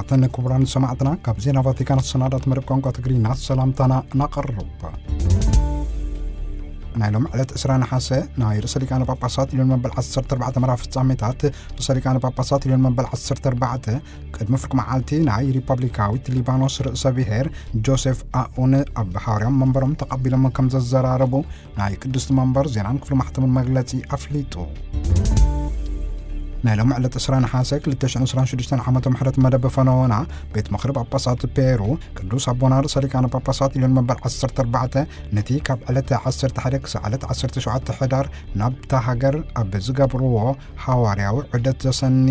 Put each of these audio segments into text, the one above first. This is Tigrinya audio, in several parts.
ተን ክቡራን ሰማዕትና፣ ካብ ዜና ቫቲካን ዝሰናዳት መደብ ቋንቋ ትግርኛ ሰላምታና ናቐርብ። ናይ ሎም ዕለት ዕስራ ነሓሰ ናይ ርእሰ ሊቃነ ጳጳሳት ልዮን መበል ዓሰርተ ኣርባዕተ መርሃ ፍጻሜታት ርእሰ ሊቃነ ጳጳሳት ልዮን መበል ዓሰርተ ኣርባዕተ ቅድሚ ፍርቂ መዓልቲ ናይ ሪፐብሊካዊት ሊባኖስ ርእሰ ብሔር ጆሴፍ ኣኡን ኣብ ሓዋርያዊ መንበሮም ተቐቢሎም ከም ዘዘራረቡ ናይ ቅድስቲ መንበር ዜናን ክፍሊ ማሕተምን መግለጺ ኣፍሊጡ። ናይ ሎም ዕለት ዕስራ ነሓሰ ክልተ ሽሕን ዕስራን ሽዱሽተን ዓመተ ምሕረት መደብ ፈነወና ቤት ምኽሪ ጳጳሳት ፔሩ ቅዱስ ኣቦና ርእሰ ሊቃነ ጳጳሳት ልዮን መበል ዓሰርተ ኣርባዕተ ነቲ ካብ ዕለት ዓሰርተ ሓደ ክሳዕ ዕለት ዓሰርተ ሸውዓተ ሕዳር ናብታ ሃገር ኣብ ዝገብርዎ ሓዋርያዊ ዑደት ዘሰኒ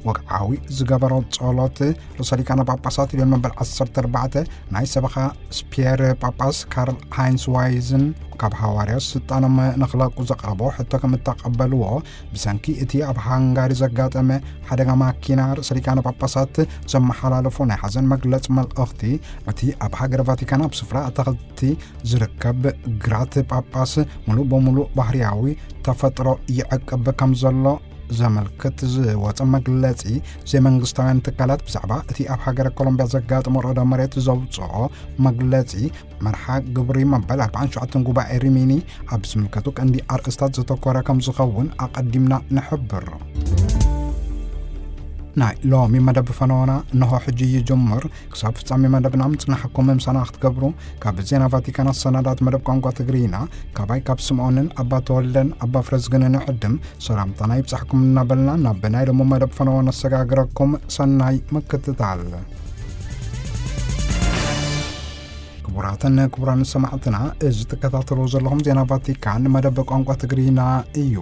ወግዓዊ ዝገበሮ ጸሎት ርእሰ ሊቃነ ጳጳሳት ልዮን መበል ዓሰርተ ኣርባዕተ ናይ ሰበኻ ስፒየር ጳጳስ ካርል ሃይንስ ዋይዝን ካብ ሓዋርያዊ ስልጣኖም ንኽለቁ ዘቕረቦ ሕቶ ከም እተቐበልዎ፣ ብሰንኪ እቲ ኣብ ሃንጋሪ ዘጋጠመ ሓደጋ ማኪና ርእሰ ሊቃነ ጳጳሳት ዘመሓላለፎ ናይ ሓዘን መግለጽ መልእኽቲ፣ እቲ ኣብ ሃገረ ቫቲካን ኣብ ስፍራ ኣታኽልቲ ዝርከብ ግራት ጳጳስ ሙሉእ በሙሉእ ባህርያዊ ተፈጥሮ ይዕቅብ ከም ዘሎ ዘመልክት ዝወጸ መግለጺ፣ ዘይመንግስታውያን ትካላት ብዛዕባ እቲ ኣብ ሃገረ ኮሎምቢያ ዘጋጠመ ርዕደ መሬት ዘውጽኦ መግለጺ፣ መርሓ ግብሪ መበል ኣርባዓን ሸውዓተን ጉባኤ ሪሚኒ ኣብ ዝምልከቱ ቀንዲ ኣርእስታት ዘተኮረ ከም ዝኸውን ኣቐዲምና ንሕብር። ናይ ሎሚ መደብ ፈነወና እንሆ ሕጂ ይጅምር። ክሳብ ፍጻሜ መደብና ምጽናሕኩም ምሳና ክትገብሩ ካብ ዜና ቫቲካን ኣሰናዳት መደብ ቋንቋ ትግርኛ ካባይ ካብ ስምዖንን ኣባ ተወልደን ኣባ ፍረዝግንን ዕድም ሰላምታና ይብጻሕኩም እናበልና ናብ ናይ ሎሚ መደብ ፈነወ ነሰጋግረኩም። ሰናይ ምክትታል። ክቡራትን ክቡራን ሰማዕትና፣ እዚ ትከታተሉ ዘለኹም ዜና ቫቲካን መደብ ቋንቋ ትግርኛ እዩ።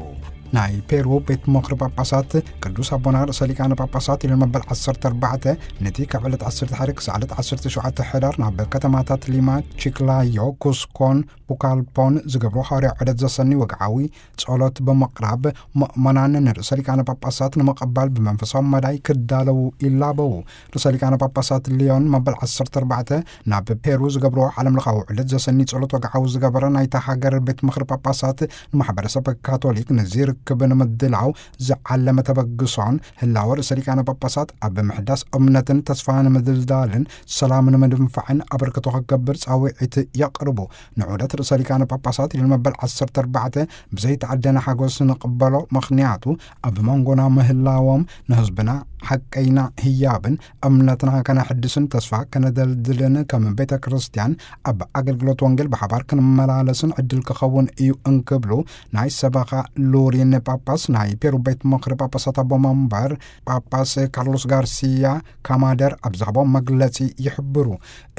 ናይ ፔሩ ቤት ምኽሪ ጳጳሳት ቅዱስ ኣቦና ርእሰ ሊቃነ ጳጳሳት ኢሉ መበል ዓሰርተ ኣርባዕተ ነቲ ካብ ዕለት ዓሰርተ ሓደ ክሳዕ ዕለት ዓሰርተ ሸውዓተ ሕዳር ናብ ከተማታት ሊማ፣ ቺክላዮ፣ ኩስኮን ቡካልፖን ዝገብሮ ሃዋርያዊ ዑደት ዘሰኒ ወግዓዊ ጸሎት ብምቕራብ ምእመናን ንርእሰ ሊቃነ ጳጳሳት ንምቕባል ብመንፈሳዊ መዳይ ክዳለዉ ይላበዉ። ርእሰ ሊቃነ ጳጳሳት ሊዮን መበል ዓሰርተ ኣርባዕተ ናብ ፔሩ ዝገብርዎ ዓለም ለኻዊ ዑደት ዘሰኒ ጸሎት ወግዓዊ ዝገበረ ናይታ ሃገር ቤት ምኽሪ ጳጳሳት ንማሕበረሰብ ካቶሊክ ንዚ ርክብ ንምድላው ዝዓለመ ተበግሶን ህላወ ርእሰ ሊቃነ ጳጳሳት ኣብ ምሕዳስ እምነትን ተስፋ ንምድልዳልን ሰላም ንምድንፋዕን ኣበርክቶ ክገብር ጻውዒት የቕርቡ። ንዑደት ርእሰ ሊቃነ ጳጳሳት ኢሉ መበል ዓሰርተ ኣርባዕተ ብዘይተዓደነ ሓጎስ ንቕበሎ፣ ምኽንያቱ ኣብ መንጎና ምህላዎም ንህዝብና ሓቀይና ህያብን እምነትና ከነሕድስን ተስፋ ከነደልድልን ከም ቤተ ክርስቲያን ኣብ ኣገልግሎት ወንጌል ብሓባር ክንመላለስን ዕድል ክኸውን እዩ እንክብሉ ናይ ሰበኻ ሉሪን ጳጳስ ናይ ፔሩ ቤት ምኽሪ ጳጳሳት ኣቦ መንበር ጳጳስ ካርሎስ ጋርሲያ ካማደር ኣብ ዝሃቦ መግለጺ ይሕብሩ።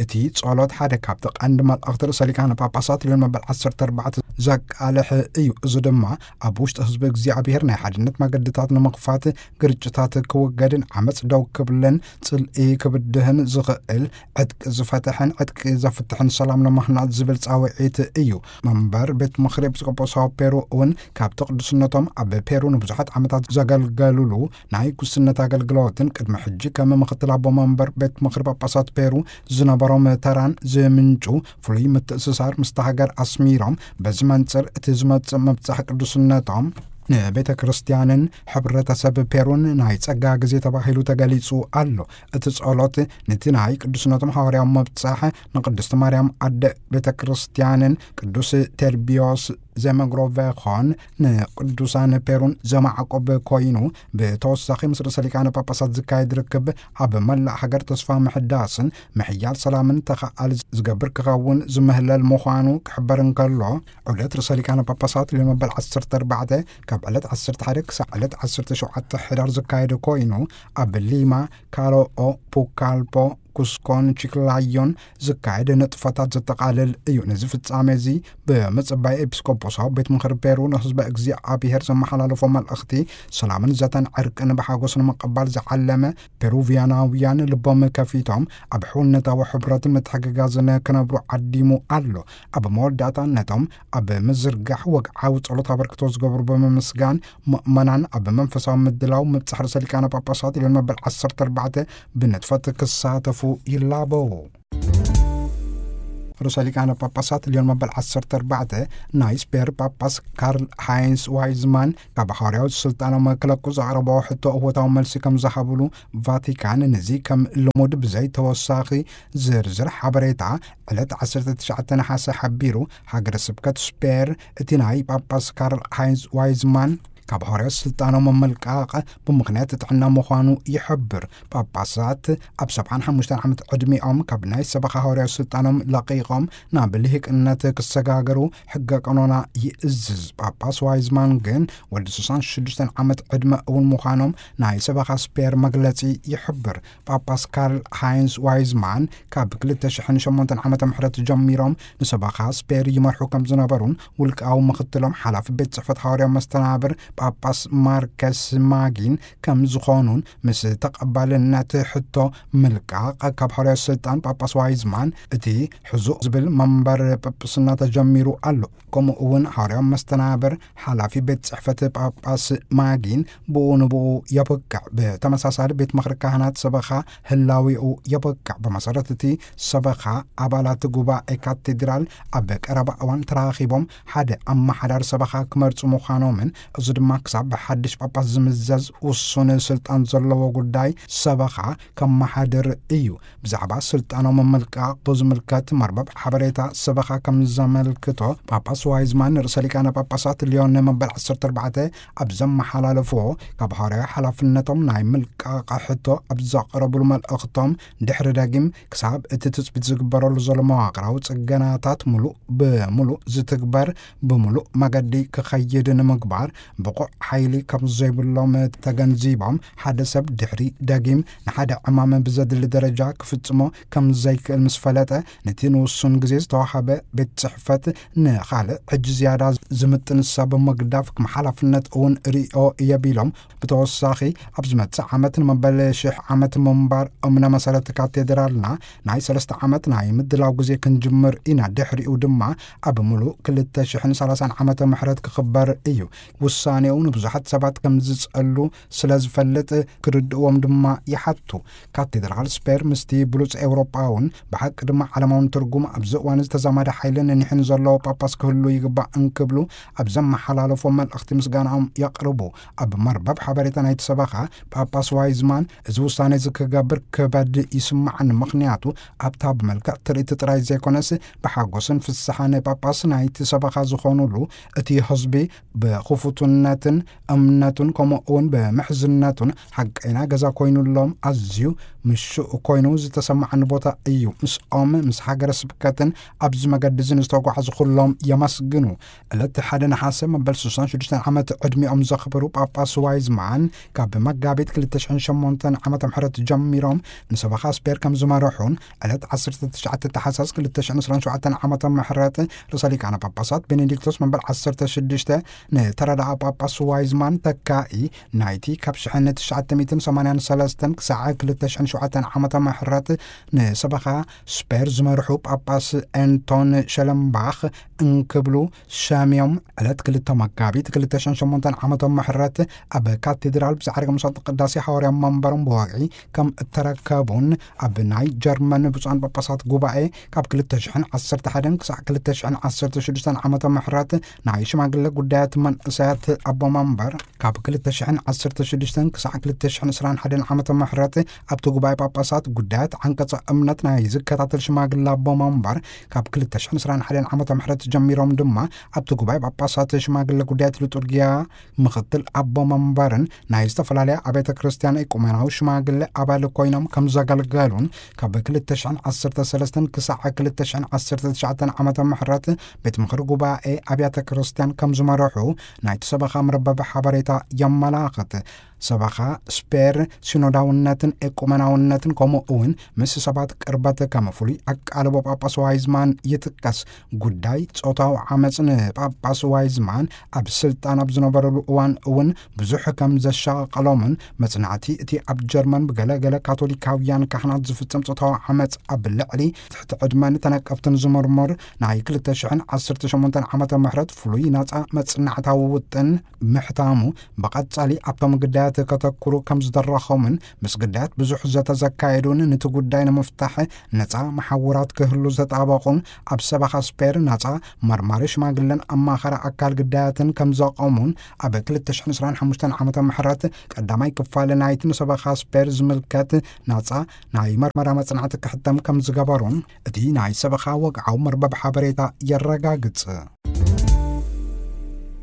እቲ ጸሎት ሓደ ካብቲ ቀንዲ መልእኽቲ ርእሰ ሊቃነ ጳጳሳት ሊዮን መበል ዓሰርተ ኣርባዕተ ዘቃልሕ እዩ። እዚ ድማ ኣብ ውሽጢ ህዝቢ እግዚኣብሔር ናይ ሓድነት መገድታት ንምኽፋት፣ ግርጭታት ክውገድን ዓመጽ ደው ክብልን ጽልኢ ክብድህን ዝኽእል ዕጥቂ ዝፈትሕን ዕጥቂ ዘፍትሕን ሰላም ንምኽናጽ ዝብል ጻውዒት እዩ። መንበር ቤት ምኽሪ ኤጲስቆጶሳዊ ፔሩ እውን ካብቲ ቅዱስነቶም ኣብ ፔሩ ንብዙሓት ዓመታት ዘገልገሉሉ ናይ ጉስነት ኣገልግሎትን ቅድሚ ሕጂ ከም ምኽትል ኣቦ መንበር ቤት ምኽሪ ጳጳሳት ፔሩ ዝነበሮም ተራን ዝምንጩ ፍሉይ ምትእስሳር ምስታ ሃገር ኣስሚሮም፣ በዚ መንጽር እቲ ዝመጽእ ምብጻሕ ቅዱስነቶም ንቤተ ክርስቲያንን ሕብረተሰብ ፔሩን ናይ ጸጋ ግዜ ተባሂሉ ተገሊጹ ኣሎ። እቲ ጸሎት ነቲ ናይ ቅዱስነቶም ሃዋርያዊ ምብጻሕ ንቅድስቲ ማርያም ኣደ ቤተ ክርስቲያንን ቅዱስ ቴርቢዮስ ዘመግሮቬኾን ንቅዱሳን ፔሩን ዘማዕቆብ ኮይኑ፣ ብተወሳኺ ምስ ርእሰ ሊቃነ ጳጳሳት ዝካየድ ርክብ ኣብ መላእ ሃገር ተስፋ ምሕዳስን ምሕያል ሰላምን ተኸኣል ዝገብር ክኸውን ዝምህለል ምዃኑ ክሕበር እንከሎ፣ ዑደት ርእሰ ሊቃነ ጳጳሳት ሊዮን መበል ዓሰርተ ኣርባዕተ ካብ ዕለት ዓሰርተ ሓደ ክሳዕ ዕለት ዓሰርተ ሸውዓተ ሕዳር ዝካየድ ኮይኑ፣ ኣብ ሊማ፣ ካሮኦ፣ ፑካልፖ፣ ኩስኮን ቺክላዮን ዝካየድ ንጥፈታት ዘጠቓልል እዩ። ነዚ ፍጻሜ እዚ ብምጽባይ ኤጲስቆጶሳዊ ቤት ምኽሪ ፔሩ ንህዝበ እግዚኣብሔር ዘመሓላለፎ መልእኽቲ ሰላምን ዘተን ዕርቅን ብሓጎስ ንምቕባል ዝዓለመ፣ ፔሩቪያናውያን ልቦም ከፊቶም ኣብ ሕውነታዊ ሕብረትን ምትሕግጋዝን ክነብሩ ዓዲሙ ኣሎ። ኣብ መወዳእታ ነቶም ኣብ ምዝርጋሕ ወግዓዊ ጸሎት ኣበርክቶ ዝገብሩ ብምምስጋን፣ ምእመናን ኣብ መንፈሳዊ ምድላው ምብጻሕ ርእሰ ሊቃነ ጳጳሳት ሊዮን መበል ዓሰርተ ኣርባዕተ ብንጥፈት ክሳተፉ ይላበዉ። ርእሰ ሊቃነ ጳጳሳት ልዮን መበል ዓሰርተ ኣርባዕተ፣ ናይ ስፔር ጳጳስ ካርል ሃይንስ ዋይዝማን ካብ ሃዋርያዊ ስልጣኖም ክለቁ ዘቕረቦ ሕቶ እወታዊ መልሲ ከም ዝሃብሉ ቫቲካን፣ ነዚ ከም ልሙድ ብዘይ ተወሳኺ ዝርዝር ሓበሬታ ዕለት ዓሰርተ ትሽዓተ ነሓሰ ሓቢሩ። ሃገረ ስብከት ስፔር እቲ ናይ ጳጳስ ካርል ሃይንስ ዋይዝማን ካብ ሃዋርያዊ ስልጣኖም ምልቃቕ ብምኽንያት ጥዕና ምዃኑ ይሕብር። ጳጳሳት ኣብ ሰብዓን ሓሙሽተን ዓመት ዕድሚኦም ካብ ናይ ሰበኻ ሃዋርያዊ ስልጣኖም ለቒቖም ናብ ልሂቅነት ክሰጋገሩ ሕገ ቀኖና ይእዝዝ። ጳጳስ ዋይዝማን ግን ወዲ ስሳን ሽዱሽተን ዓመት ዕድመ እውን ምዃኖም ናይ ሰበኻ ስፔር መግለጺ ይሕብር። ጳጳስ ካርል ሃይንስ ዋይዝማን ካብ ክልተ ሽሕን ሸሞንተን ዓመተ ምሕረት ጀሚሮም ንሰበኻ ስፔር ይመርሑ ከም ዝነበሩን፣ ውልቃዊ ምኽትሎም ሓላፊ ቤት ጽሕፈት ሃዋርያዊ መስተናብር ጳጳስ ማርከስ ማጊን ከም ዝኾኑን፣ ምስ ተቐባልነት ሕቶ ምልቃቕ ካብ ሃዋርያዊ ስልጣን ጳጳስ ዋይዝማን እቲ ሕዙእ ዝብል መንበር ጳጳስና ተጀሚሩ ኣሎ። ከምኡ እውን ሃዋርያዊ መስተናብር ሓላፊ ቤት ጽሕፈት ጳጳስ ማጊን ብኡ ንብኡ የብቅዕ። ብተመሳሳሊ፣ ቤት ምኽሪ ካህናት ሰበኻ ህላዊኡ የብቅዕ። ብመሰረት እቲ ሰበኻ፣ ኣባላት ጉባኤ ካቴድራል ኣብ ቀረባ እዋን ተራኺቦም ሓደ ኣመሓዳሪ ሰበኻ ክመርጹ ምዃኖምን፣ እዚ ድማ ክሳብ ብሓድሽ ጳጳስ ዝምዘዝ ውሱን ስልጣን ዘለዎ ጉዳይ ሰበኻ ከመሓድር እዩ። ብዛዕባ ስልጣኖም ምልቃቕ ብዝምልከት፣ መርበብ ሓበሬታ ሰበኻ ከም ዘመልክቶ፣ ጳጳስ ዋይዝማን ርእሰ ሊቃነ ጳጳሳት ልዮን መበል ዓሰርተ ኣርባዕተ ኣብ ዘመሓላለፍዎ፣ ካብ ሃዋርያዊ ሓላፍነቶም ናይ ምልቃቕ ሕቶ ኣብ ዘቕረብሉ መልእኽቶም፣ ድሕሪ ደጊም ክሳብ እቲ ትጽቢት ዝግበረሉ ዘሎ መዋቕራዊ ጽገናታት ምሉእ ብምሉእ ዝትግበር፣ ብምሉእ መገዲ ክኸይድ ንምግባር ብቑዕ ሓይሊ ከም ዘይብሎም ተገንዚቦም፣ ሓደ ሰብ ድሕሪ ደጊም ንሓደ ዕማም ብዘድሊ ደረጃ ክፍጽሞ ከም ዘይክእል ምስ ፈለጠ፣ ነቲ ንውሱን ግዜ ዝተዋሃበ ቤት ጽሕፈት ንኻልእ፣ ሕጂ ዝያዳ ዝምጥን ሰብ ምግዳፍ ከም ሓላፍነት እውን ርእዮ እየ ቢሎም፣ ብተወሳኺ፣ ኣብ ዝመጽእ ዓመት ንመበል ሽሕ ዓመት ምንባር እምነ መሰረት ካቴድራልና ናይ ሰለስተ ዓመት ናይ ምድላው ግዜ ክንጅምር ኢና። ድሕሪኡ ድማ ኣብ ምሉእ ክልተ ሽሕን ሰላሳን ዓመተ ምሕረት ክኽበር እዩ። ውሳኔኡ ንብዙሓት ሰባት ከም ዝጸሉ ስለ ዝፈልጥ፣ ክርድእዎም ድማ ይሓቱ። ካቴድራል ስፔር ምስቲ ብሉጽ ኤውሮጳውን ብሓቂ ድማ ዓለማውን ትርጉም ኣብዚ እዋን ዝተዛማደ ሓይልን ኒሕን ዘለዎ ጳጳስ ክህሉ ይግባእ እንክብሉ ኣብ ዘመሓላለፎ መልእኽቲ ምስጋናኦም የቕርቡ። ኣብ መርበብ ሓበሬታ ናይቲ ሰበኻ፣ ጳጳስ ዋይዝማን እዚ ውሳነ እዚ ክገብር ክበድ ይስማዓኒ፣ ምኽንያቱ ኣብታ ብመልክዕ ትርኢት ጥራይ ዘይኮነስ ብሓጎስን ፍስሓን ጳጳስ ናይቲ ሰበኻ ዝኾኑሉ፣ እቲ ህዝቢ ብኽፉትነትን እምነቱን ከምኡ እውን ብምሕዝነቱን ሓቀይና ገዛ ኮይኑሎም፣ ኣዝዩ ምሹእ ኮይኑ ዝተሰማዓኒ ቦታ እዩ። ምስኦም፣ ምስ ሃገረ ስብከትን ኣብዚ መገዲ እዚ ንዝተጓዕዙ ኩሎም የመስግኑ። ዕለት ሓደ ነሓሰ መበል ስሳን ሽዱሽተን ዓመት ዕድሚኦም ዘኽብሩ ጳጳስ ዋይዝማን፣ ካብ መጋቢት ክልተ ሽሕን ሸሞንተን ዓመተ ምሕረት ጀሚሮም ንሰበኻ ስፔር ከም ዝመርሑን፣ ዕለት ዓሰርተ ትሽዓተ ታሕሳስ ክልተ ሽሕን ዕስራን ሸውዓተን ዓመተ ምሕረት ርእሰ ሊቃነ ጳጳሳት ቤኔዲክቶስ መበል ዓሰርተ ሽዱሽተ ንተረዳኣ ጳጳስ ዋይዝማን ተካኢ ናይቲ ካብ ሽሕን ትሽዓተ ሚእትን ሰማንያን ሰለስተን ክሳዕ ክልተ ሽሕን ሸውዓተን ዓመተ ምሕረት ንሰበኻ ስፔር ዝመርሑ ጳጳስ ኤንቶን ሸለምባኽ እንክብሉ ሸሚዮም፣ ዕለት ክልተ መጋቢት ክልተ ሽሕን ሸሞንተን ዓመተ ምሕረት ኣብ ካቴድራል ብዛዕርገ ምሳጥ ቅዳሴ ሃዋርያ መንበሮም ብወግዒ ከም እተረከቡን፣ ኣብ ናይ ጀርመን ብፁዓን ጳጳሳት ጉባኤ ካብ ክልተ ሽሕን ዓሰርተ ሓደን ክሳዕ ክልተ ሽሕን ዓሰርተ ሽዱሽተን ዓመተ ምሕረት ናይ ሽማግለ ጉዳያት መንእሰያት ኣቦ መንበር፣ ካብ ክልተ ሽሕን ዓሰርተ ሽዱሽተን ክሳዕ ክልተ ሽሕን ዕስራን ሓደን ዓመተ ምሕረት ኣብቲ ጉባኤ ጳጳሳት ጉዳያት ዓንቀጸ እምነት ናይ ዝከታተል ሽማግለ ኣቦ መንበር፣ ካብ ክልተ ሽሕን ዕስራን ሓደን ዓመተ ምሕረት ጀሚሮም ድማ ኣብቲ ጉባኤ ጳጳሳት ሽማግለ ጉዳያት ሊጡርጊያ ምኽትል ኣቦ መንበርን ናይ ዝተፈላለያ ኣብያተ ክርስቲያን ኤቁሜናዊ ሽማግለ ኣባል ኮይኖም ከም ዘገልገሉን፣ ካብ ክልተ ሽሕን ዓሰርተ ሰለስተን ክሳዕ ክልተ ሽሕን ዓሰርተ ትሽዓተን ዓመተ ምሕረት ቤት ምኽሪ ጉባኤ ኣብያተ ክርስቲያን ከም ዝመርሑ ናይቲ ሰበኻ መርበብ ሓበሬታ የመላኽት። ሰበኻ ስፔር ሲኖዳውነትን ኤቁመናውነትን ከምኡ እውን ምስ ሰባት ቅርበት ከም ፍሉይ ኣቃልቦ ጳጳስ ዋይዝማን ይጥቀስ። ጉዳይ ጾታዊ ዓመጽ ንጳጳስ ዋይዝማን ኣብ ስልጣን ኣብ ዝነበረሉ እዋን እውን ብዙሕ ከም ዘሻቐሎምን፣ መጽናዕቲ እቲ ኣብ ጀርመን ብገለ ገለ ካቶሊካውያን ካህናት ዝፍጸም ጾታዊ ዓመጽ ኣብ ልዕሊ ትሕቲ ዕድመን ተነቀፍትን ዝምርምር ናይ ክልተ ሽሕን ዓሰርተ ሸሞንተን ዓመተ ምሕረት ፍሉይ ናጻ መጽናዕታዊ ውጥን ምሕታሙ፣ ብቐጻሊ ኣብቶም ግዳያት ከተኩሩ ከም ዝደረኾምን ምስ ግዳያት ብዙሕ ዘተ ዘካየዱን፣ ነቲ ጉዳይ ንምፍታሕ ነፃ መሓውራት ክህሉ ዘጣበቑን፣ ኣብ ሰበኻ ስፔር ነፃ መርማሪ ሽማግለን ኣማኸሪ ኣካል ግዳያትን ከም ዘቆሙን፣ ኣብ ክልተ ሽሕን ዕስራን ሓሙሽተን ዓመተ ምሕረት ቀዳማይ ክፋል ናይቲ ንሰበኻ ስፔር ዝምልከት ነፃ ናይ መርመራ መጽናዕቲ ክሕተም ከም ዝገበሩን እቲ ናይ ሰበኻ ወግዓዊ መርበብ ሓበሬታ የረጋግጽ።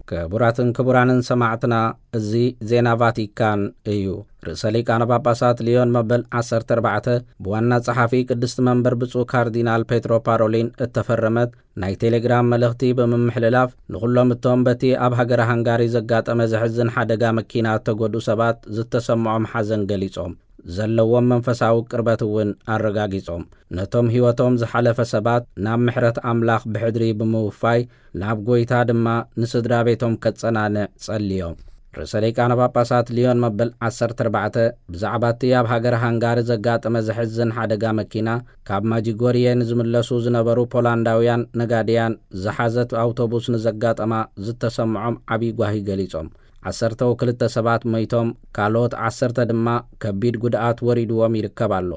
ክቡራትን ክቡራንን ሰማዕትና፣ እዚ ዜና ቫቲካን እዩ። ርእሰ ሊቃነ ጳጳሳት ሊዮን መበል ዓሰርተ ኣርባዕተ ብዋና ጸሓፊ ቅድስቲ መንበር ብፁዕ ካርዲናል ፔትሮ ፓሮሊን እተፈረመት ናይ ቴሌግራም መልእኽቲ ብምምሕልላፍ፣ ንኹሎም እቶም በቲ ኣብ ሃገረ ሃንጋሪ ዘጋጠመ ዘሕዝን ሓደጋ መኪና እተጎድኡ ሰባት ዝተሰምዖም ሓዘን ገሊጾም፣ ዘለዎም መንፈሳዊ ቅርበት እውን ኣረጋጊጾም። ነቶም ህይወቶም ዝሓለፈ ሰባት ናብ ምሕረት ኣምላኽ ብሕድሪ ብምውፋይ፣ ናብ ጐይታ ድማ ንስድራ ቤቶም ከጸናንዕ ጸልዮም። ርእሰ ሊቃነ ጳጳሳት ሊዮን መበል ዓሰርተ ኣርባዕተ ብዛዕባ እቲ ኣብ ሃገረ ሃንጋሪ ዘጋጠመ ዘሕዝን ሓደጋ መኪና፣ ካብ ማጂጎርየ ንዝምለሱ ዝነበሩ ፖላንዳውያን ነጋድያን ዝሓዘት ኣውቶቡስ ንዘጋጠማ ዝተሰምዖም ዓብዪ ጓሂ ገሊጾም። ዓሰርተ ወክልተ ሰባት ሞይቶም፣ ካልኦት ዓሰርተ ድማ ከቢድ ጉድኣት ወሪድዎም ይርከብ ኣሎ።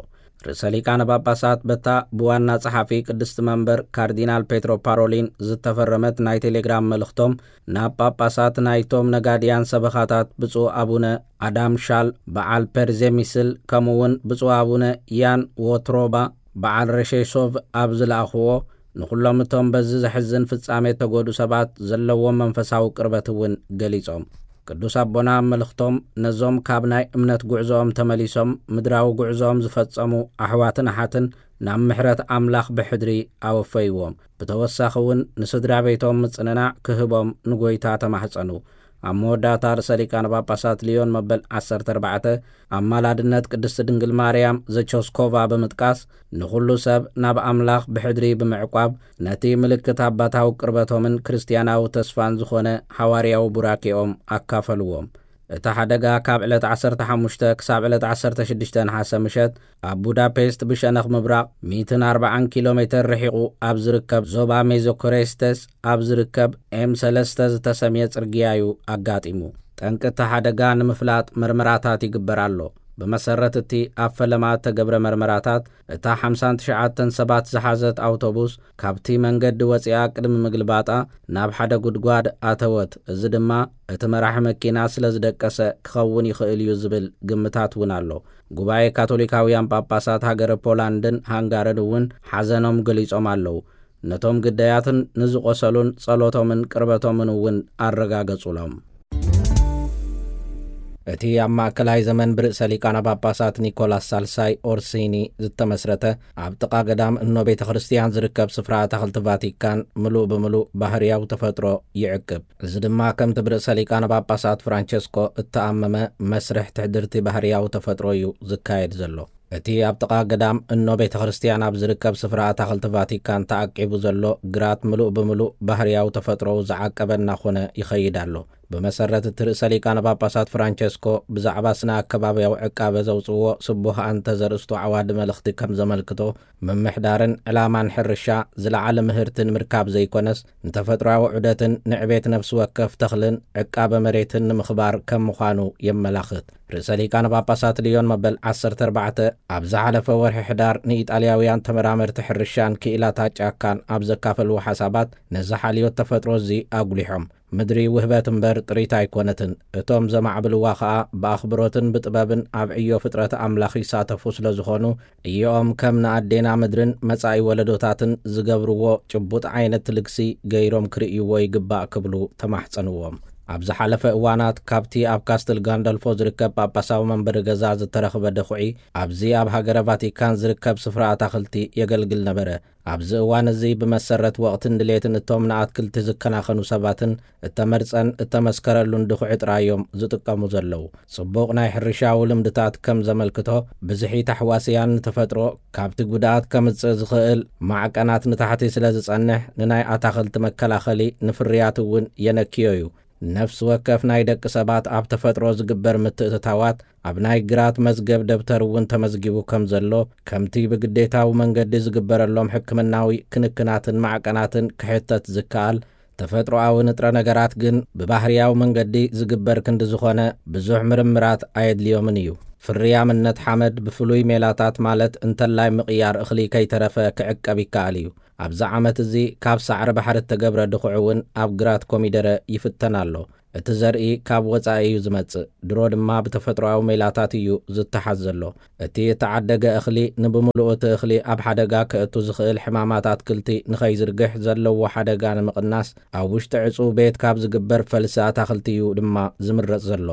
ርእሰ ሊቃነ ጳጳሳት በታ ብዋና ጸሓፊ ቅድስቲ መንበር ካርዲናል ፔትሮ ፓሮሊን ዝተፈረመት ናይ ቴሌግራም መልእኽቶም፣ ናብ ጳጳሳት ናይቶም ነጋድያን ሰበኻታት ብፁዕ ኣቡነ ኣዳም ሻል በዓል ፐርዜሚስል፣ ከምኡውን ብፁዕ ኣቡነ ያን ዎትሮባ በዓል ረሼሶቭ ኣብ ዝለኣኽዎ፣ ንኹሎም እቶም በዚ ዘሕዝን ፍጻሜ እተጎዱ ሰባት ዘለዎም መንፈሳዊ ቅርበት እውን ገሊጾም። ቅዱስ ኣቦና ኣብ መልእኽቶም፣ ነዞም ካብ ናይ እምነት ጉዕዞኦም ተመሊሶም ምድራዊ ጉዕዞኦም ዝፈጸሙ ኣሕዋትን ኣሓትን ናብ ምሕረት ኣምላኽ ብሕድሪ ኣወፈይዎም። ብተወሳኺ እውን ንስድራ ቤቶም ምጽንናዕ ክህቦም ንጎይታ ተማሕጸኑ። ኣብ መወዳእታ ርእሰ ሊቃነ ጳጳሳት ሊዮን መበል ዓሰርተ ኣርባዕተ ኣማላድነት ቅድስቲ ድንግል ማርያም ዘቸስኮቫ ብምጥቃስ፣ ንኹሉ ሰብ ናብ ኣምላኽ ብሕድሪ ብምዕቋብ፣ ነቲ ምልክት ኣባታዊ ቅርበቶምን ክርስትያናዊ ተስፋን ዝኾነ ሓዋርያዊ ቡራኬኦም ኣካፈልዎም። እቲ ሓደጋ ካብ ዕለት ዓሰርተ ሓሙሽተ ክሳብ ዕለት ዓሰርተ ሽዱሽተ ነሓሰ ምሸት ኣብ ቡዳፔስት ብሸነኽ ምብራቕ ሚእትን ኣርባዓን ኪሎ ሜተር ርሒቑ ኣብ ዝርከብ ዞባ ሜዞኮሬስተስ ኣብ ዝርከብ ኤም ሰለስተ ዝተሰምየ ጽርግያ እዩ ኣጋጢሙ። ጠንቂ እቲ ሓደጋ ንምፍላጥ መርመራታት ይግበር ኣሎ። ብመሰረት እቲ ኣብ ፈለማ እተገብረ መርመራታት፣ እታ ሓምሳን ትሽዓተን ሰባት ዝሓዘት ኣውቶቡስ ካብቲ መንገዲ ወጺኣ ቅድሚ ምግልባጣ ናብ ሓደ ጉድጓድ ኣተወት። እዚ ድማ እቲ መራሒ መኪና ስለ ዝደቀሰ ክኸውን ይኽእል እዩ ዝብል ግምታት እውን ኣሎ። ጉባኤ ካቶሊካውያን ጳጳሳት ሃገረ ፖላንድን ሃንጋርን እውን ሓዘኖም ገሊጾም ኣለዉ። ነቶም ግዳያትን ንዝቖሰሉን ጸሎቶምን ቅርበቶምን እውን ኣረጋገጹሎም። እቲ ኣብ ማእከላይ ዘመን ብርእሰ ሊቃነ ጳጳሳት ኒኮላስ ሳልሳይ ኦርሲኒ ዝተመስረተ፣ ኣብ ጥቓ ገዳም እኖ ቤተ ክርስቲያን ዝርከብ ስፍራ ኣታኽልቲ ቫቲካን ምሉእ ብምሉእ ባህርያዊ ተፈጥሮ ይዕቅብ። እዚ ድማ ከምቲ ብርእሰ ሊቃነ ጳጳሳት ፍራንቸስኮ እተኣመመ መስርሕ ትሕድርቲ ባህርያዊ ተፈጥሮ እዩ ዝካየድ ዘሎ። እቲ ኣብ ጥቓ ገዳም እኖ ቤተ ክርስቲያን ኣብ ዝርከብ ስፍራ ኣታኽልቲ ቫቲካን ተዓቂቡ ዘሎ ግራት ምሉእ ብምሉእ ባህርያዊ ተፈጥሮኡ ዝዓቀበ እናኾነ ይኸይድ ኣሎ። ብመሰረት እቲ ርእሰ ሊቃነ ጳጳሳት ፍራንቸስኮ ብዛዕባ ስነ ኣከባብያዊ ዕቃበ ዘውጽእዎ ስቡህ ኣንተ ዘርእስቱ ዓዋዲ መልእኽቲ ከም ዘመልክቶ፣ ምምሕዳርን ዕላማን ሕርሻ ዝለዓለ ምህርቲ ንምርካብ ዘይኮነስ፣ ንተፈጥሮኣዊ ዑደትን ንዕቤት ነፍሲ ወከፍ ተኽልን ዕቃበ መሬትን ንምኽባር ከም ምዃኑ የመላኽት። ርእሰ ሊቃነ ጳጳሳት ልዮን መበል ዓሰርተ ኣርባዕተ ኣብ ዝሓለፈ ወርሒ ሕዳር ንኢጣልያውያን ተመራመርቲ ሕርሻን ክኢላታት ጫካን ኣብ ዘካፈልዎ ሓሳባት፣ ነዚ ሓልዮት ተፈጥሮ እዚ ኣጉሊሖም። ምድሪ ውህበት እምበር ጥሪት ኣይኮነትን። እቶም ዘማዕብልዋ ኸኣ ብኣኽብሮትን ብጥበብን ኣብ ዕዮ ፍጥረት ኣምላኽ ይሳተፉ ስለ ዝኾኑ፣ እዮኦም ከም ንኣዴና ምድርን መጻኢ ወለዶታትን ዝገብርዎ ጭቡጥ ዓይነት ልግሲ ገይሮም ክርእይዎ ይግባእ ክብሉ ተማሕጸንዎም። ኣብ ዝሓለፈ እዋናት ካብቲ ኣብ ካስትል ጋንደልፎ ዝርከብ ጳጳሳዊ መንበሪ ገዛ ዝተረኽበ ደኹዒ፣ ኣብዚ ኣብ ሃገረ ቫቲካን ዝርከብ ስፍራ ኣታኽልቲ የገልግል ነበረ። ኣብዚ እዋን እዚ ብመሰረት ወቕትን ድሌትን እቶም ንኣትክልቲ ዝከናኸኑ ሰባትን እተመርጸን እተመስከረሉን ድኹዒ ጥራይ እዮም ዝጥቀሙ ዘለዉ። ጽቡቕ ናይ ሕርሻዊ ልምድታት ከም ዘመልክቶ፣ ብዝሒ ታሕዋስያን ንተፈጥሮ ካብቲ ጉድኣት ከምጽእ ዝኽእል ማዕቀናት ንታሕቲ ስለ ዝጸንሕ፣ ንናይ ኣታኽልቲ መከላኸሊ ንፍርያት እውን የነክዮ እዩ። ነፍሲ ወከፍ ናይ ደቂ ሰባት ኣብ ተፈጥሮ ዝግበር ምትእትታዋት ኣብ ናይ ግራት መዝገብ ደብተር እውን ተመዝጊቡ ከም ዘሎ፣ ከምቲ ብግዴታዊ መንገዲ ዝግበረሎም ሕክምናዊ ክንክናትን ማዕቀናትን ክሕተት ዝከኣል፣ ተፈጥሮኣዊ ንጥረ ነገራት ግን ብባህርያዊ መንገዲ ዝግበር ክንዲ ዝኾነ ብዙሕ ምርምራት ኣየድልዮምን እዩ። ፍርያምነት ሓመድ ብፍሉይ ሜላታት፣ ማለት እንተላይ ምቕያር እኽሊ ከይተረፈ፣ ክዕቀብ ይከኣል እዩ። ኣብዚ ዓመት እዚ ካብ ሳዕሪ ባሕሪ እተገብረ ድኹዒ እውን ኣብ ግራት ኮሚደረ ይፍተን ኣሎ። እቲ ዘርኢ ካብ ወጻኢ እዩ ዝመጽእ። ድሮ ድማ ብተፈጥሮኣዊ ሜላታት እዩ ዝተሓዝ ዘሎ። እቲ እተዓደገ እኽሊ ንብምሉኡ እቲ እኽሊ ኣብ ሓደጋ ከእቱ ዝኽእል ሕማማት ኣትክልቲ ንኸይዝርግሕ ዘለዎ ሓደጋ ንምቕናስ ኣብ ውሽጢ ዕጹው ቤት ካብ ዝግበር ፈልሲ ኣታኽልቲ እዩ ድማ ዝምረጽ ዘሎ።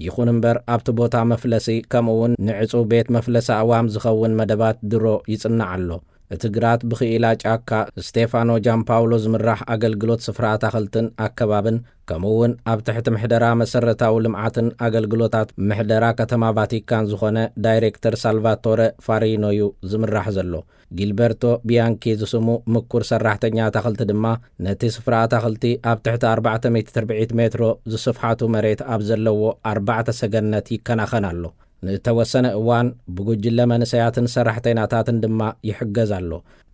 ይኹን እምበር ኣብቲ ቦታ መፍለሲ ከምኡ እውን ንዕጹው ቤት መፍለሲ ኣእዋም ዝኸውን መደባት ድሮ ይጽናዕ ኣሎ። እቲ ግራት ብኽኢላ ጫካ ስቴፋኖ ጃምፓውሎ ዝምራሕ ኣገልግሎት ስፍራ ኣታኽልትን ኣከባብን ከምኡ እውን ኣብ ትሕቲ ምሕደራ መሰረታዊ ልምዓትን ኣገልግሎታት ምሕደራ ከተማ ቫቲካን ዝኾነ ዳይሬክተር ሳልቫቶረ ፋሪኖ እዩ ዝምራሕ ዘሎ። ጊልበርቶ ቢያንኪ ዝስሙ ምኩር ሰራሕተኛ ኣታኽልቲ ድማ ነቲ ስፍራ ኣታኽልቲ ኣብ ትሕቲ ኣርባዕተ ሚእቲ ትርብዒት ሜትሮ ዝስፍሓቱ መሬት ኣብ ዘለዎ ኣርባዕተ ሰገነት ይከናኸን ኣሎ። ንእተወሰነ እዋን ብጉጅለ መንእሰያትን ሰራሕተኛታትን ድማ ይሕገዝ ኣሎ።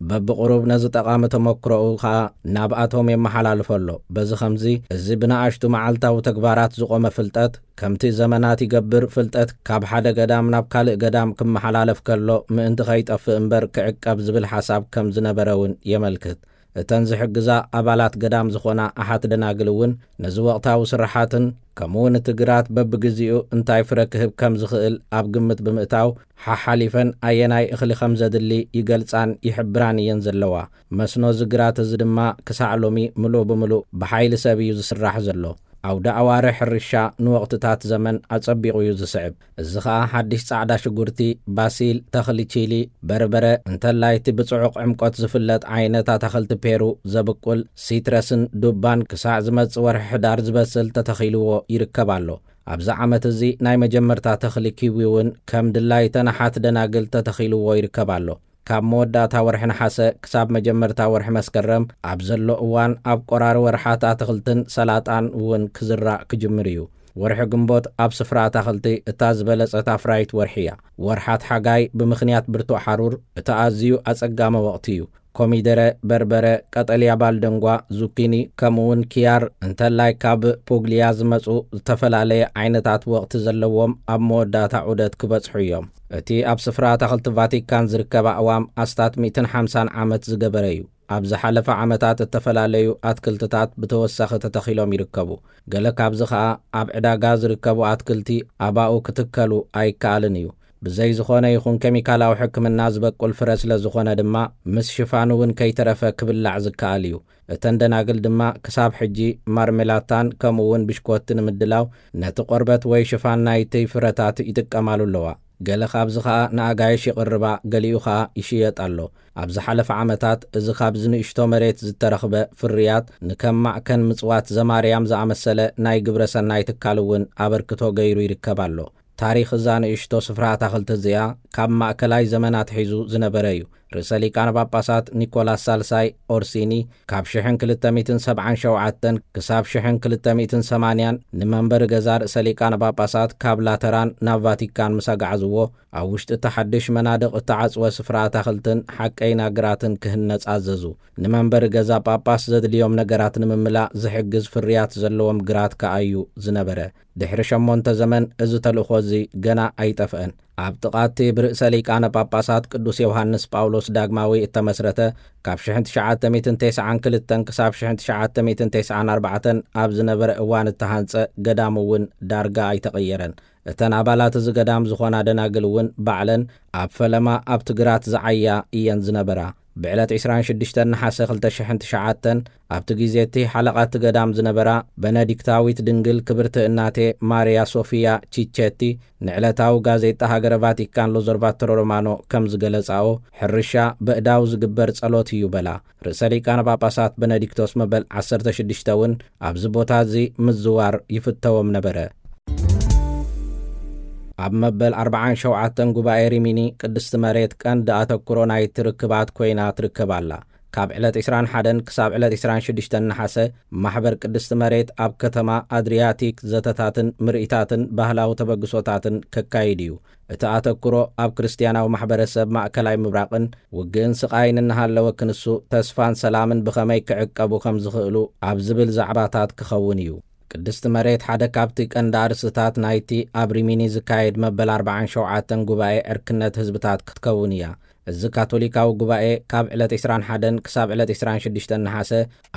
በብቕሩብ ነዚ ጠቓሚ ተመክሮኡ ኸኣ ናብኣቶም የመሓላልፎ ኣሎ። በዚ ኸምዚ፣ እዚ ብንኣሽቱ መዓልታዊ ተግባራት ዝቖመ ፍልጠት፣ ከምቲ ዘመናት ይገብር ፍልጠት ካብ ሓደ ገዳም ናብ ካልእ ገዳም ክመሓላለፍ ከሎ ምእንቲ ኸይጠፍእ እምበር ክዕቀብ ዝብል ሓሳብ ከም ዝነበረ እውን የመልክት። እተን ዝሕግዛ ኣባላት ገዳም ዝኾና ኣሓት ደናግል እውን ነዚ ወቕታዊ ስራሓትን ከምኡ እውን እቲ ግራት በብግዜኡ እንታይ ፍረ ክህብ ከም ዝኽእል ኣብ ግምት ብምእታው፣ ሓሓሊፈን ኣየናይ እኽሊ ከም ዘድሊ ይገልጻን ይሕብራን እየን ዘለዋ። መስኖ እዚ ግራት እዚ ድማ ክሳዕ ሎሚ ምሉእ ብምሉእ ብሓይሊ ሰብ እዩ ዝስራሕ ዘሎ። ኣውደ ኣዋርሕ ሕርሻ ንወቕትታት ዘመን ኣጸቢቑ እዩ ዝስዕብ። እዚ ኸኣ ሓድሽ ጻዕዳ ሽጉርቲ፣ ባሲል፣ ተኽሊ ቺሊ፣ በርበረ፣ እንተላይ እቲ ብጽዑቕ ዕምቆት ዝፍለጥ ዓይነት ኣታኽልቲ ፔሩ ዘብቁል፣ ሲትረስን ዱባን ክሳዕ ዝመጽእ ወርሒ ሕዳር ዝበስል ተተኺልዎ ይርከብ ኣሎ። ኣብዚ ዓመት እዚ ናይ መጀመርታ ተኽሊ ኪዊ እውን ከም ድላይተን ኣሓት ደናግል ተተኺልዎ ይርከብ ኣሎ። ካብ መወዳእታ ወርሒ ነሓሰ ክሳብ መጀመርታ ወርሒ መስከረም ኣብ ዘሎ እዋን ኣብ ቆራሪ ወርሓት ኣትኽልትን ሰላጣን እውን ክዝራእ ክጅምር እዩ። ወርሒ ግንቦት ኣብ ስፍራ ኣታኽልቲ እታ ዝበለጸት ኣፍራይት ወርሒ እያ። ወርሓት ሓጋይ ብምኽንያት ብርቱዕ ሓሩር እቲ ኣዝዩ ኣጸጋሚ ወቕቲ እዩ። ኮሚደረ፣ በርበረ፣ ቀጠልያ ባልደንጓ፣ ዙኪኒ፣ ከምኡውን ኪያር፣ እንተላይ ካብ ፑግሊያ ዝመጹ ዝተፈላለየ ዓይነታት ወቕቲ ዘለዎም ኣብ መወዳእታ ዑደት ክበጽሑ እዮም። እቲ ኣብ ስፍራ ኣታኽልቲ ቫቲካን ዝርከብ ኣእዋም ኣስታት ሚእትን ሓምሳን ዓመት ዝገበረ እዩ። ኣብ ዝሓለፈ ዓመታት እተፈላለዩ ኣትክልትታት ብተወሳኺ ተተኺሎም ይርከቡ። ገለ ካብዚ ኸኣ ኣብ ዕዳጋ ዝርከቡ ኣትክልቲ ኣባኡ ክትከሉ ኣይከኣልን እዩ። ብዘይ ዝኾነ ይኹን ኬሚካላዊ ሕክምና ዝበቁል ፍረ ስለ ዝኾነ ድማ ምስ ሽፋኑ እውን ከይተረፈ ክብላዕ ዝከኣል እዩ። እተን ደናግል ድማ ክሳብ ሕጂ ማርሜላታን ከምኡ እውን ብሽኮቲ ንምድላው ነቲ ቆርበት ወይ ሽፋን ናይቲ ፍረታት ይጥቀማሉ ኣለዋ። ገለ ካብዚ ኸኣ ንኣጋይሽ ይቕርባ፣ ገሊኡ ኸኣ ይሽየጥ ኣሎ። ኣብ ዝሓለፈ ዓመታት እዚ ካብዚ ንእሽቶ መሬት ዝተረኽበ ፍርያት ንከም ማዕከን ምጽዋት ዘማርያም ዝኣመሰለ ናይ ግብረ ሰናይ ትካል እውን ኣበርክቶ ገይሩ ይርከብ ኣሎ። ታሪኽ እዛ ንእሽቶ ስፍራ ኣታኽልቲ እዚኣ ካብ ማእከላይ ዘመን ኣትሒዙ ዝነበረ እዩ። ርእሰ ሊቃነ ጳጳሳት ኒኮላስ ሳልሳይ ኦርሲኒ ካብ ሽሕን ክልተ ሚእትን ሰብዓን ሸውዓተን ክሳብ ሽሕን ክልተ ሚእትን ሰማንያን ንመንበሪ ገዛ ርእሰ ሊቃነ ጳጳሳት ካብ ላተራን ናብ ቫቲካን ምስ ኣጋዓዝዎ፣ ኣብ ውሽጢ እቲ ሓድሽ መናድቕ እተዓጽወ ስፍራ ኣታኽልትን ሓቀይና ግራትን ክህነጽ ኣዘዙ። ንመንበሪ ገዛ ጳጳስ ዘድልዮም ነገራት ንምምላእ ዝሕግዝ ፍርያት ዘለዎም ግራት ከኣ እዩ ዝነበረ። ድሕሪ ሸሞንተ ዘመን እዚ ተልእኾ እዚ ገና ኣይጠፍአን። ኣብ ጥቓ እቲ ብርእሰ ሊቃነ ጳጳሳት ቅዱስ ዮሃንስ ጳውሎስ ዳግማዊ እተመስረተ፣ ካብ ሽሕን ትሽዓተ ሚእትን ተስዓን ክልተን ክሳብ ሽሕን ትሽዓተ ሚእትን ተስዓን ኣርባዕተን ኣብ ዝነበረ እዋን እተሃንጸ ገዳም እውን ዳርጋ ኣይተቐየረን። እተን ኣባላት እዚ ገዳም ዝኾና ደናግል እውን ባዕለን ኣብ ፈለማ ኣብቲ ግራት ዝዓያ እየን ዝነበራ። ብዕለት ዕስራን ሽዱሽተን ነሓሰ ክልተ ሽሕን ትሽዓተን ኣብቲ ግዜ እቲ ሓለቓ እቲ ገዳም ዝነበራ በነዲክታዊት ድንግል ክብርቲ እናቴ ማርያ ሶፊያ ቺቼቲ ንዕለታዊ ጋዜጣ ሃገረ ቫቲካን ሎዘርቫቶሮ ሮማኖ ከም ዝገለጻኦ፣ ሕርሻ በእዳው ዝግበር ጸሎት እዩ በላ። ርእሰ ሊቃነ ጳጳሳት በነዲክቶስ መበል ዓሰርተ ሽዱሽተ እውን ኣብዚ ቦታ እዚ ምዝዋር ይፍተዎም ነበረ። ኣብ መበል ኣርብዓን ሸውዓተን ጉባኤ ሪሚኒ ቅድስቲ መሬት ቀንዲ ኣተኩሮ ናይቲ ርክባት ኮይና ትርከብ ኣላ። ካብ ዕለት ዕስራን ሓደን ክሳብ ዕለት ዕስራን ሽዱሽተን ነሓሰ፣ ማሕበር ቅድስቲ መሬት ኣብ ከተማ ኣድሪያቲክ ዘተታትን ምርኢታትን ባህላዊ ተበግሶታትን ከካይድ እዩ። እቲ ኣተኩሮ ኣብ ክርስትያናዊ ማሕበረሰብ ማእከላይ ምብራቕን ውግእን ስቓይን እናሃለወ ክንሱ ተስፋን ሰላምን ብኸመይ ክዕቀቡ ከም ዝኽእሉ ኣብ ዝብል ዛዕባታት ክኸውን እዩ። ቅድስቲ መሬት ሓደ ካብቲ ቀንዲ ኣርእስትታት ናይቲ ኣብ ሪሚኒ ዝካየድ መበል ኣርባዓን ሸውዓተን ጉባኤ ዕርክነት ህዝብታት ክትከውን እያ። እዚ ካቶሊካዊ ጉባኤ ካብ ዕለት ዕስራን ሓደን ክሳብ ዕለት ዕስራን ሽዱሽተን ነሓሰ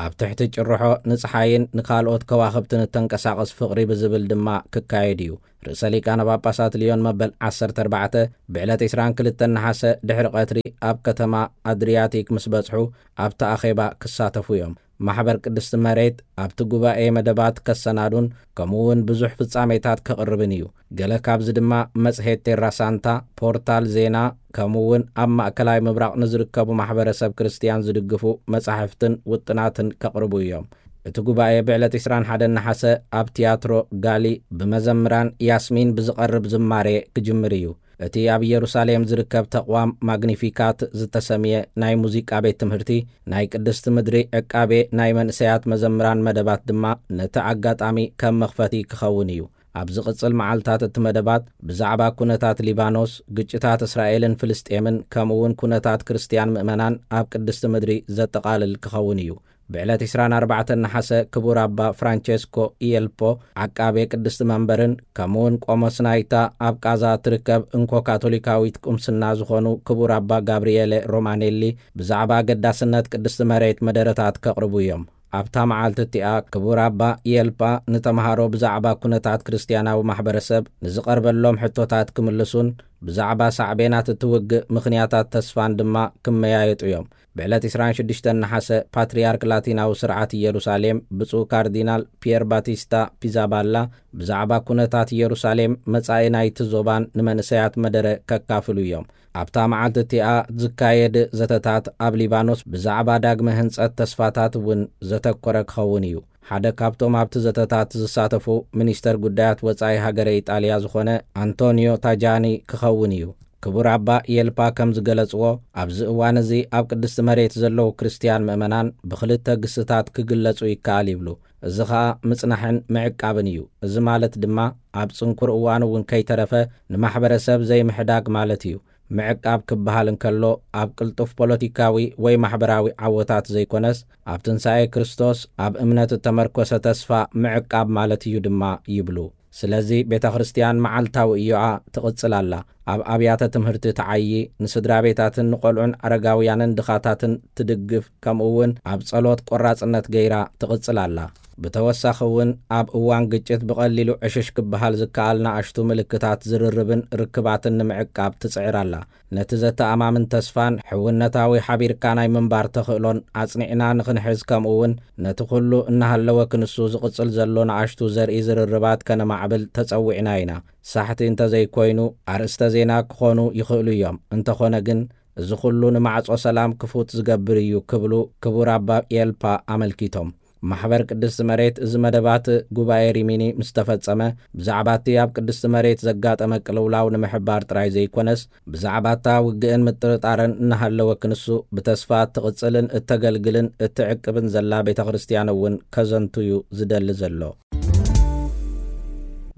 ኣብ ትሕቲ ጭርሖ ንጸሓይን ንኻልኦት ከዋኽብትን እተንቀሳቐስ ፍቕሪ ብዝብል ድማ ክካየድ እዩ። ርእሰ ሊቃነ ጳጳሳት ልዮን መበል ዓሰርተ ኣርባዕተ ብዕለት ዕስራን ክልተን ነሓሰ ድሕሪ ቀትሪ ኣብ ከተማ ኣድሪያቲክ ምስ በጽሑ ኣብቲ ኣኼባ ክሳተፉ እዮም። ማሕበር ቅድስቲ መሬት ኣብቲ ጉባኤ መደባት ከሰናዱን ከምኡ እውን ብዙሕ ፍጻሜታት ከቕርብን እዩ። ገለ ካብዚ ድማ መጽሔት ቴራ ሳንታ፣ ፖርታል ዜና፣ ከምኡ እውን ኣብ ማእከላይ ምብራቕ ንዝርከቡ ማሕበረሰብ ክርስትያን ዝድግፉ መጻሕፍትን ውጥናትን ከቕርቡ እዮም። እቲ ጉባኤ ብዕለት ዕስራን ሓደን ነሓሰ ኣብ ቲያትሮ ጋሊ ብመዘምራን ያስሚን ብዝቐርብ ዝማሬ ክጅምር እዩ። እቲ ኣብ ኢየሩሳሌም ዝርከብ ተቕዋም ማግኒፊካት ዝተሰምየ ናይ ሙዚቃ ቤት ትምህርቲ፣ ናይ ቅድስቲ ምድሪ ዕቃቤ ናይ መንእሰያት መዘምራን መደባት ድማ ነቲ ኣጋጣሚ ከም መኽፈቲ ክኸውን እዩ። ኣብ ዝቕጽል መዓልታት እቲ መደባት ብዛዕባ ኩነታት ሊባኖስ፣ ግጭታት እስራኤልን ፍልስጤምን፣ ከምኡ እውን ኩነታት ክርስትያን ምእመናን ኣብ ቅድስቲ ምድሪ ዘጠቓልል ክኸውን እዩ። ብዕለት ዕስራን ኣርባዕተን ነሓሰ ክቡር ኣባ ፍራንቸስኮ ኢየልፖ ዓቃቤ ቅድስቲ መንበርን ከምኡውን ቆሞስ ናይታ ኣብ ቃዛ እትርከብ እንኮ ካቶሊካዊት ቁምስና ዝኾኑ ክቡር ኣባ ጋብርኤለ ሮማኔሊ ብዛዕባ ኣገዳስነት ቅድስቲ መሬት መደረታት ከቕርቡ እዮም። ኣብታ መዓልቲ እቲኣ ክቡር ኣባ ኢየልፓ ንተምሃሮ ብዛዕባ ኩነታት ክርስትያናዊ ማሕበረሰብ ንዝቐርበሎም ሕቶታት ክምልሱን ብዛዕባ ሳዕቤናት እቲ ውግእ ምኽንያታት ተስፋን ድማ ክመያየጡ እዮም። ብዕለት ዕስራን ሽዱሽተን ነሓሰ ፓትርያርክ ላቲናዊ ስርዓት ኢየሩሳሌም ብፁዕ ካርዲናል ፒየር ባቲስታ ፒዛባላ ብዛዕባ ኩነታት ኢየሩሳሌም፣ መጻኢ ናይቲ ዞባን ንመንእሰያት መደረ ከካፍሉ እዮም። ኣብታ መዓልቲ እቲኣ ዝካየድ ዘተታት ኣብ ሊባኖስ ብዛዕባ ዳግመ ህንጸት ተስፋታት እውን ዘተኮረ ክኸውን እዩ። ሓደ ካብቶም ኣብቲ ዘተታት ዝሳተፉ ሚኒስተር ጉዳያት ወጻኢ ሃገረ ኢጣልያ ዝኾነ ኣንቶኒዮ ታጃኒ ክኸውን እዩ። ክቡር ኣባ የልፓ ከም ዝገለጽዎ፣ ኣብዚ እዋን እዚ ኣብ ቅድስቲ መሬት ዘለዉ ክርስትያን ምእመናን ብኽልተ ግስታት ክግለጹ ይከኣል ይብሉ። እዚ ኸኣ ምጽናሕን ምዕቃብን እዩ። እዚ ማለት ድማ ኣብ ጽንኩር እዋን እውን ከይተረፈ ንማሕበረሰብ ዘይምሕዳግ ማለት እዩ። ምዕቃብ ክበሃል እንከሎ ኣብ ቅልጡፍ ፖለቲካዊ ወይ ማሕበራዊ ዓወታት ዘይኮነስ፣ ኣብ ትንሳኤ ክርስቶስ ኣብ እምነት እተመርኮሰ ተስፋ ምዕቃብ ማለት እዩ ድማ ይብሉ። ስለዚ ቤተ ክርስቲያን መዓልታዊ እዮኣ ትቕጽል ኣላ። ኣብ ኣብያተ ትምህርቲ ትዓዪ፣ ንስድራ ቤታትን ንቖልዑን ኣረጋውያንን ድኻታትን ትድግፍ፣ ከምኡ እውን ኣብ ጸሎት ቆራጽነት ገይራ ትቕጽል ኣላ። ብተወሳኺ እውን ኣብ እዋን ግጭት ብቐሊሉ ዕሽሽ ክበሃል ዝከኣል ንኣሽቱ ምልክታት ዝርርብን ርክባትን ንምዕቃብ ትጽዕር ኣላ። ነቲ ዘተኣማምን ተስፋን ሕውነታዊ ሓቢርካ ናይ ምንባር ተኽእሎን ኣጽኒዕና ንኽንሕዝ፣ ከምኡ እውን ነቲ ኩሉ እናሃለወ ክንሱ ዝቕጽል ዘሎ ንኣሽቱ ዘርኢ ዝርርባት ከነማዕብል ተጸዊዕና ኢና። ሳሕቲ እንተዘይኮይኑ ኣርእስተ ዜና ክኾኑ ይኽእሉ እዮም። እንተኾነ ግን እዚ ኩሉ ንማዕጾ ሰላም ክፉት ዝገብር እዩ ክብሉ ክቡር ኣባ ኤልፓ ኣመልኪቶም። ማሕበር ቅድስቲ መሬት እዚ መደባት ጉባኤ ሪሚኒ ምስ ተፈጸመ፣ ብዛዕባ እቲ ኣብ ቅድስቲ መሬት ዘጋጠመ ቅልውላው ንምሕባር ጥራይ ዘይኮነስ፣ ብዛዕባ እታ ውግእን ምጥርጣርን እናሃለወ ክንሱ ብተስፋ እትቕጽልን እተገልግልን እትዕቅብን ዘላ ቤተ ክርስቲያን እውን ከዘንቱ እዩ ዝደሊ ዘሎ።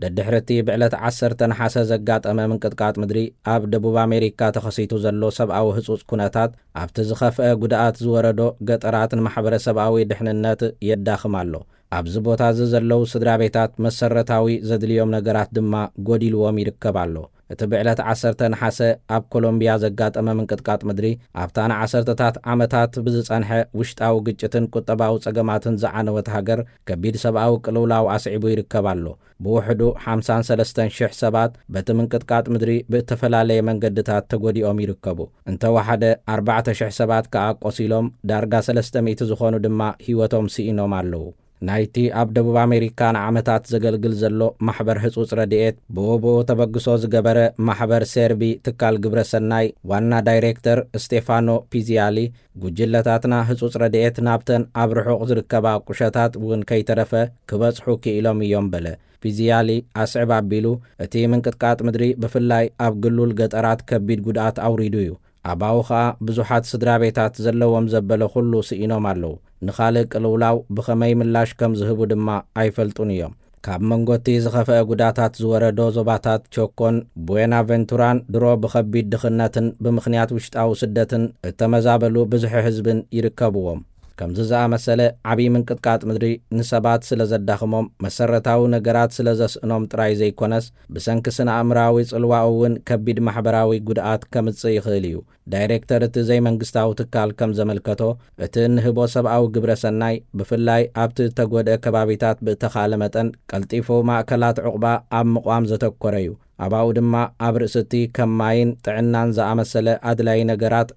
ደድሕሪ እቲ ብዕለት ዓሰርተ ነሓሰ ዘጋጠመ ምንቅጥቃጥ ምድሪ፣ ኣብ ደቡብ ኣሜሪካ ተኸሲቱ ዘሎ ሰብኣዊ ህጹጽ ኩነታት፣ ኣብቲ ዝኸፍአ ጉድኣት ዝወረዶ ገጠራት ንማሕበረሰብኣዊ ድሕንነት የዳኽም ኣሎ። ኣብዚ ቦታ እዚ ዘለዉ ስድራ ቤታት መሰረታዊ ዘድልዮም ነገራት ድማ ጎዲልዎም ይርከብ ኣሎ። እቲ ብዕለት ዓሰርተ ነሓሰ ኣብ ኮሎምቢያ ዘጋጠመ ምንቅጥቃጥ ምድሪ፣ ኣብታ ንዓሰርተታት ዓመታት ብዝጸንሐ ውሽጣዊ ግጭትን ቁጠባዊ ጸገማትን ዝዓነወት ሃገር፣ ከቢድ ሰብኣዊ ቅልውላው ኣስዒቡ ይርከብ ኣሎ። ብውሕዱ ሓምሳን ሰለስተን ሽሕ ሰባት በቲ ምንቅጥቃጥ ምድሪ ብእተፈላለየ መንገድታት ተጎዲኦም ይርከቡ። እንተወሓደ ኣርባዕተ ሽሕ ሰባት ከኣ ቆሲሎም፣ ዳርጋ ሰለስተ ሚእቲ ዝኾኑ ድማ ህይወቶም ስኢኖም ኣለዉ። ናይቲ ኣብ ደቡብ ኣሜሪካ ንዓመታት ዘገልግል ዘሎ ማሕበር ህጹጽ ረድኤት፣ ብወብኡ ተበግሶ ዝገበረ ማሕበር ሴርቢ ትካል ግብረ ሰናይ ዋና ዳይሬክተር ስቴፋኖ ፒዚያሊ፣ ጉጅለታትና ህጹጽ ረድኤት ናብተን ኣብ ርሑቕ ዝርከባ ቁሸታት እውን ከይተረፈ ክበጽሑ ክኢሎም እዮም በለ። ፒዚያሊ ኣስዕብ ኣቢሉ፣ እቲ ምንቅጥቃጥ ምድሪ ብፍላይ ኣብ ግሉል ገጠራት ከቢድ ጉድኣት ኣውሪዱ እዩ። ኣባኡ ኸኣ ብዙሓት ስድራ ቤታት ዘለዎም ዘበለ ኩሉ ስኢኖም ኣለዉ። ንኻልእ ቅልውላው ብኸመይ ምላሽ ከም ዝህቡ ድማ ኣይፈልጡን እዮም። ካብ መንጎ እቲ ዝኸፍአ ጉዳታት ዝወረዶ ዞባታት ቸኮን ቡዌናቨንቱራን ድሮ ብኸቢድ ድኽነትን ብምኽንያት ውሽጣዊ ስደትን እተመዛበሉ ብዝሒ ህዝብን ይርከብዎም። ከምዚ ዝኣመሰለ ዓብዪ ምንቅጥቃጥ ምድሪ ንሰባት ስለ ዘዳኽሞም፣ መሰረታዊ ነገራት ስለ ዘስእኖም ጥራይ ዘይኮነስ፣ ብሰንኪ ስነ ኣእምራዊ ጽልዋኡ እውን ከቢድ ማሕበራዊ ጉድኣት ከምጽእ ይኽእል እዩ። ዳይሬክተር እቲ ዘይመንግስታዊ ትካል ከም ዘመልከቶ፣ እቲ እንህቦ ሰብኣዊ ግብረ ሰናይ ብፍላይ ኣብቲ እተጎድአ ከባቢታት ብእተኻእለ መጠን ቀልጢፉ ማእከላት ዑቕባ ኣብ ምቋም ዘተኮረ እዩ። ኣባኡ ድማ ኣብ ርእሲ እቲ ከም ማይን ጥዕናን ዝኣመሰለ ኣድላዪ ነገራት